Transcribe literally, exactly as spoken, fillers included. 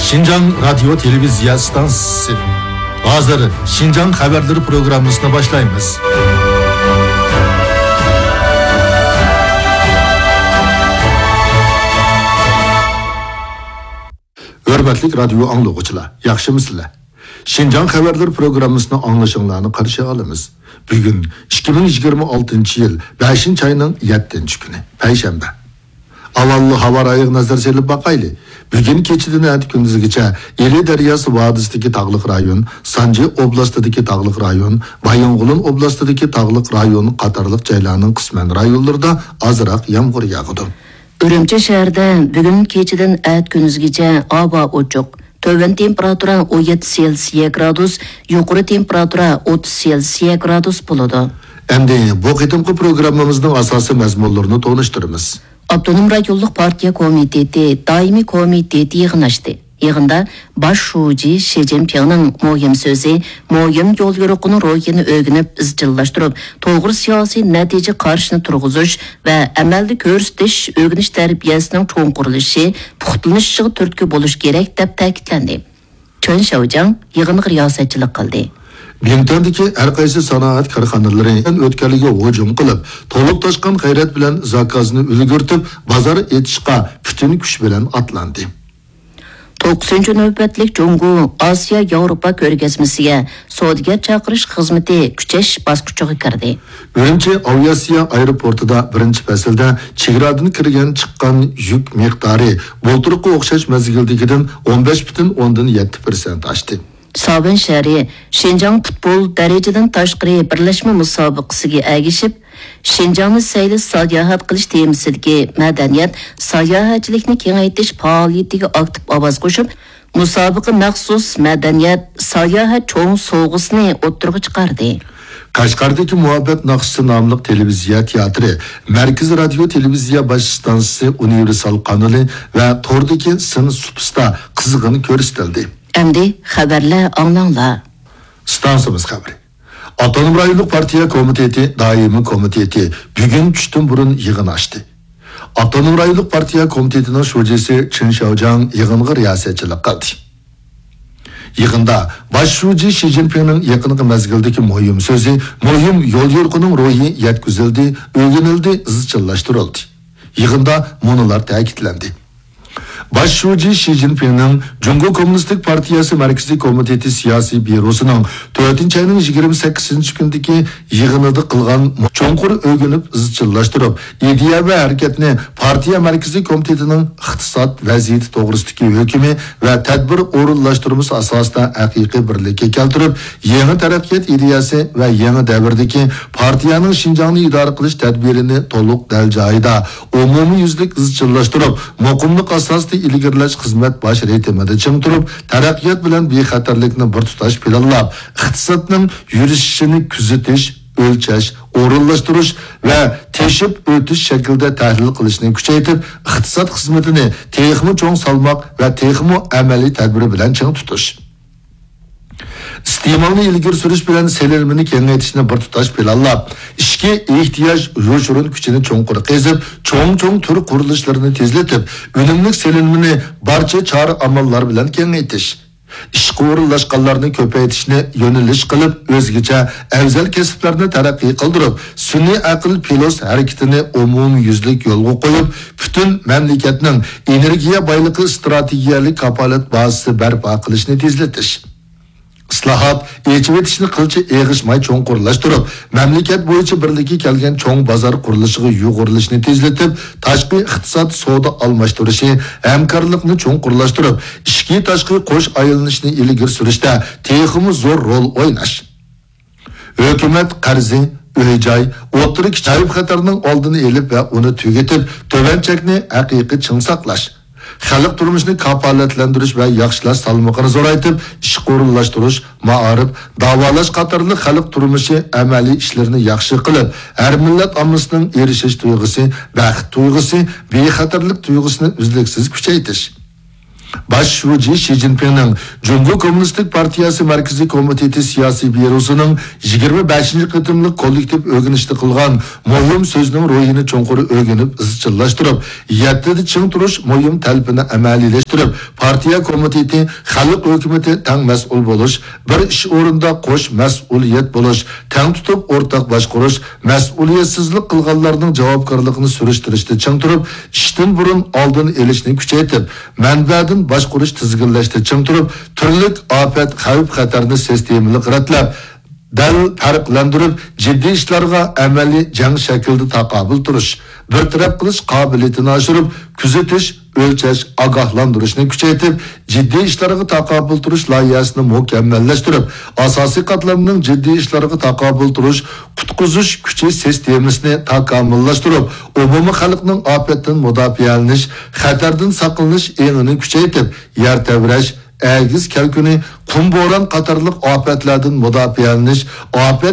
شىنجاڭ رادىيو تېلېۋىزىيە ئىستانسىسى. ھازىر شىنجاڭ خەۋەرلىرى پروگراممىسىنى باشلايمىز. ھۆرمەتلىك رادىيو ئاڭلىغۇچىلار، ياخشىمۇسىلەر؟ شىنجاڭ خەۋەرلىرى پروگراممىسىنى ئاڭلىشىڭلارنى قارشى ئالىمىز. بۈگۈن ئىككى مىڭ يىگىرمە ئالتىنچى يىل بەشىنچى ئاينىڭ يەتتىنچى كۈنى، پەيشەنبە. ئاۋۋال ھاۋا رايىغا نەزەر سېلىپ باقايلى. بۈگۈن كېچىدىن ئەتە كۈندۈزگىچە ئىلى دەرياسى ۋادىسىدىكى تاغلىق رايون، سانجى ئوبلاستىدىكى تاغلىق رايون، بايىنغولىن ئوبلاستىدىكى تاغلىق رايون قاتارلىق جايلارنىڭ قىسمەن رايونلىرىدا ئازراق يامغۇر ياغىدۇ. ئۈرۈمچى شەھىرىدە بۈگۈن كېچىدىن ئەتە كۈندۈزگىچە ھاۋا ئوچۇق. تۆۋەن تېمپېراتۇرا ئون يەتتە سېلسىيە گرادۇس، يۇقىرى تېمپېراتۇرا ئوتتۇز سېلسىيە گرادۇس بولىدۇ. ئەمدى بۇ قېتىمقى پروگراممىمىزنىڭ ئاساسىي مەزمۇنلىرىنى تونۇشتۇرىمىز. ئاپتونوم رايونلۇق پارتىيە كومىتېتى دائىمىي كومىتېتى يىغىن ئاچتى. يىغىندا باش شۇجى شى جىنپىڭنىڭ مۇھىم سۆزى، مۇھىم يوليورۇقىنىڭ روھىنى ئۆگىنىپ ئىزچىللاشتۇرۇپ، توغرا سىياسىي نەتىجە قارىشىنى تۇرغۇزۇش ۋە ئەمەلدە كۆرسىتىش، ئۆگىنىش تەربىيەسىنىڭ چوڭقۇرلىشىشى، پۇختىلىنىشىغا تۈرتكە بولۇش كېرەك، دەپ تەكىتلەندى. چېن شياۋجياڭ يىغىنغا رىياسەتچىلىك قىلدى. بىڭتۈەندىكى ھەر قايسى سانائەت كارخانىلىرى ئۆتكەلگە ھۇجۇم قىلىپ، تولۇپ تاشقان غەيرەت بىلەن زاكازنى ئۈلگۈرتۈپ، بازار ئېچىشقا پۈتۈن كۈچ بىلەن ئاتلاندى. توققۇزىنچى نۆۋەتلىك جۇڭگو ئاسىيا ياۋروپا كۆرگەزمىسىگە سودىگەر چاقىرىش خىزمىتى كۈچەش باسقۇچىغا كىردى. ئۈرۈمچى ئاۋىئاتسىيە ئايروپورتىدا بىرىنچى پەسىلدە چېگرادىن كىرگەن چىققان يۈك مىقدارى بۇلتۇرقى ئوخشاش مەزگىلدىكىدىن ئون بەش پۈتۈن ئوندىن يەتتە پىرسەنت ئاشتى. ساۋەن شەھىرى شىنجاڭ پۇتبول دەرىجىدىن تاشقىرى بىرلەشمە مۇسابىقىسىگە ئەگىشىپ، شىنجاڭنى سەيلە ساياھەت قىلىش تېمىسىدىكى مەدەنىيەت، ساياھەتچىلىكنى كېڭەيتىش پائالىيىتىگە ئاكتىپ ئاۋاز قوشۇپ، مۇسابىقە مەخسۇس مەدەنىيەت، ساياھەت چوڭ سوۋغىسىنى ئوتتۇرىغا چىقاردى. قەشقەردىكى مۇھەببەت ناخشىسى ناملىق تېلېۋىزىيە تىياتىرى مەركىزىي رادىيو تېلېۋىزىيە باش ئىستانسىسى ئۇنىۋېرسال قانىلى ۋە توردىكى سىن سۇپىسىدا قىزغىن كۆرسىتىلدى. ئەمدى خەۋەرلەر ئاڭلاڭلار. ئىستانسىمىز خەۋىرى. ئاپتونوم رايونلۇق پارتىيە كومىتېتى دائىمىي كومىتېتى بۈگۈن چۈشتىن بۇرۇن يىغىن ئاچتى. ئاپتونوم رايونلۇق پارتىيە كومىتېتىنىڭ شۇجىسى چېن شياۋجياڭ يىغىنغا رىياسەتچىلىك قىلدى. يىغىندا باش شۇجى شى جىنپىڭنىڭ يېقىنقى مەزگىلدىكى مۇھىم سۆزى، مۇھىم يوليورۇقىنىڭ روھى يەتكۈزۈلدى، ئۆگىنىلدى، ئىزچىللاشتۇرۇلدى. يىغىندا مۇنۇلار تەكىتلەندى. باش شۇجى شى جىنپىڭنىڭ جۇڭگو كوممۇنىستىك پارتىيەسى مەركىزىي كومىتېتى سىياسىي بيۇروسىنىڭ تۆتىنچى ئاينىڭ يىگىرمە سەككىزىنچى كۈنىدىكى يىغىنىدا قىلغان چوڭقۇر ئۆگىنىپ ئىزچىللاشتۇرۇپ، ئىدىيە ۋە ھەرىكەتنى پارتىيە مەركىزىي كومىتېتىنىڭ ئىقتىساد ۋەزىيىتى توغرىسىدىكى ھۆكمى ۋە تەدبىر ئورۇنلاشتۇرمىسى ئاساسىدا ھەقىقىي بىرلىككە كەلتۈرۈپ، يېڭى تەرەققىيات ئىدىيەسى ۋە يېڭى دەۋردىكى پارتىيەنىڭ شىنجاڭنى ئىدارە قىلىش تەدبىرىنى تولۇق دەل جايىدا، ئومۇميۈزلۈك ئىزچىللاشتۇرۇپ، مۇقىملىق ئاساسىدا ئىلگىرىلەش خىزمەت باش رىتىمىدا چىڭ تۇرۇپ، تەرەققىيات بىلەن بىخەتەرلىكنى بىر تۇتاش پىلانلاپ، ئىقتىسادنىڭ يۈرۈشۈشىنى كۆزىتىش، ئۆلچەش، ئورۇنلاشتۇرۇش ۋە تېشىپ ئۆتۈش شەكلىدە تەھلىل قىلىشنى كۈچەيتىپ، ئىقتىساد خىزمىتىنى تېخىمۇ چوڭ سالماق ۋە تېخىمۇ ئەمەلىي تەدبىر بىلەن چىڭ تۇتۇش. ئىستېمالنى ئىلگىرى سۈرۈش بىلەن سېلىنمىنى كېڭەيتىشنى بىر تۇتاش پىلانلاپ، ئىچكى ئېھتىياج يوشۇرۇن كۈچىنى چوڭقۇر قېزىپ، چوڭ-چوڭ تۈر قۇرۇلۇشلىرىنى تېزلىتىپ، ئۈنۈملۈك سېلىنمىنى بارچە چارە-ئاماللار بىلەن كېڭەيتىش. ئىشقا ئورۇنلاشقانلارنى كۆپەيتىشنى يۆنىلىش قىلىپ، ئۆزگىچە ئەۋزەل كەسىپلەرنى تەرەققىي قىلدۇرۇپ، سۈنئىي ئەقىل پىلوس ھەرىكىتىنى ئومۇميۈزلۈك يولغا قويۇپ، پۈتۈن مەملىكەتنىڭ ئېنېرگىيە بايلىقى ئىستراتېگىيەلىك كاپالەت بازىسى بەرپا قىلىشنى تېزلىتىش. ئىسلاھات، ئېچىۋېتىشنى قىلچە ئېغىشماي چوڭقۇرلاشتۇرۇپ، مەملىكەت بويىچە بىرلىككە كەلگەن چوڭ بازار قۇرۇلۇشىغا يۇغۇرۇلۇشنى تېزلىتىپ، تاشقى ئىقتىساد سودا ئالماشتۇرۇشى، ھەمكارلىقنى چوڭقۇرلاشتۇرۇپ، ئىچكى تاشقى قوش ئايلىنىشنى ئىلگىرى سۈرۈشتە تېخىمۇ زور رول ئويناش. ھۆكۈمەت قەرزى، ئۆي-جاي، ئوتتۇرا كىچىك خەۋپ-خەتەرنىڭ ئالدىنى ئېلىپ ۋە ئۇنى تۈگىتىپ، تۆۋەن چەكنى ھەقىقىي چىڭ ساقلاش. خەلق تۇرمۇشىنى كاپالەتلەندۈرۈش ۋە ياخشىلاش سالمىقىنى زورايتىپ، ئىشقا ئورۇنلاشتۇرۇش، مائارىپ، داۋالاش قاتارلىق خەلق تۇرمۇشى ئەمەلىي ئىشلىرىنى ياخشى قىلىپ، ھەر مىللەت ئاممىسىنىڭ ئېرىشىش تۇيغۇسى، بەخت تۇيغۇسى، بىخەتەرلىك تۇيغۇسىنى ئۈزلۈكسىز كۈچەيتىش. باش شۇجى شى جىنپىڭنىڭ جۇڭگو كوممۇنىستىك پارتىيەسى مەركىزىي كومىتېتى سىياسىي بيۇروسىنىڭ يىگىرمە بەشىنچى قېتىملىق كوللېكتىپ ئۆگىنىشتە قىلغان مۇھىم سۆزىنىڭ روھىنى چوڭقۇر ئۆگىنىپ ئىزچىللاشتۇرۇپ، يەتتىدە چىڭ تۇرۇش مۇھىم تەلىپىنى ئەمەلىيلەشتۈرۈپ، پارتىيە كومىتېتى، خەلق ھۆكۈمىتى تەڭ مەسئۇل بولۇش، بىر ئىش ئورنىدا قوش مەسئۇلىيەت بولۇش، تەڭ تۇتۇپ ئورتاق باشقۇرۇش، مەسئۇلىيەتسىزلىك قىلغانلارنىڭ جاۋابكارلىقىنى سۈرۈشتۈرۈشتە چىڭ تۇرۇپ، ئىشتىن بۇرۇن ئالدىنى ئېلىشنى كۈچەيتىپ، مەنبەدىن باشقۇرۇش تىزگىنلەشتە چىڭ تۇرۇپ، تۈرلۈك ئاپەت، خەۋپ-خەتەرنى سىستېمىلىق رەتلەپ، دەل پەرقلەندۈرۈپ، جىددىي ئىشلارغا ئەمەلىي جەڭ شەكلىدە تاقابىل تۇرۇش، بىر تەرەپ قىلىش قابىلىيىتىنى ئاشۇرۇپ، كۆزىتىش، ئۆلچەش، ئاگاھلاندۇرۇشنى كۈچەيتىپ، جىددىي ئىشلارغا تاقابىل تۇرۇش لايىھەسىنى مۇكەممەللەشتۈرۈپ، ئاساسىي قاتلامنىڭ جىددىي ئىشلارغا تاقابىل تۇرۇش، قۇتقۇزۇش كۈچى سىستېمىسىنى تاكامۇللاشتۇرۇپ، ئومۇمىي خەلقنىڭ ئاپەتتىن مۇداپىئەلىنىش، خەتەردىن ساقلىنىش ئېڭىنى كۈچەيتىپ، يەر تەۋرەش، ئەگىز كەلكۈنى، قۇم بوران قاتارلىق ئاپەتلەردىن مۇداپىئەلىنىش، ئاپەت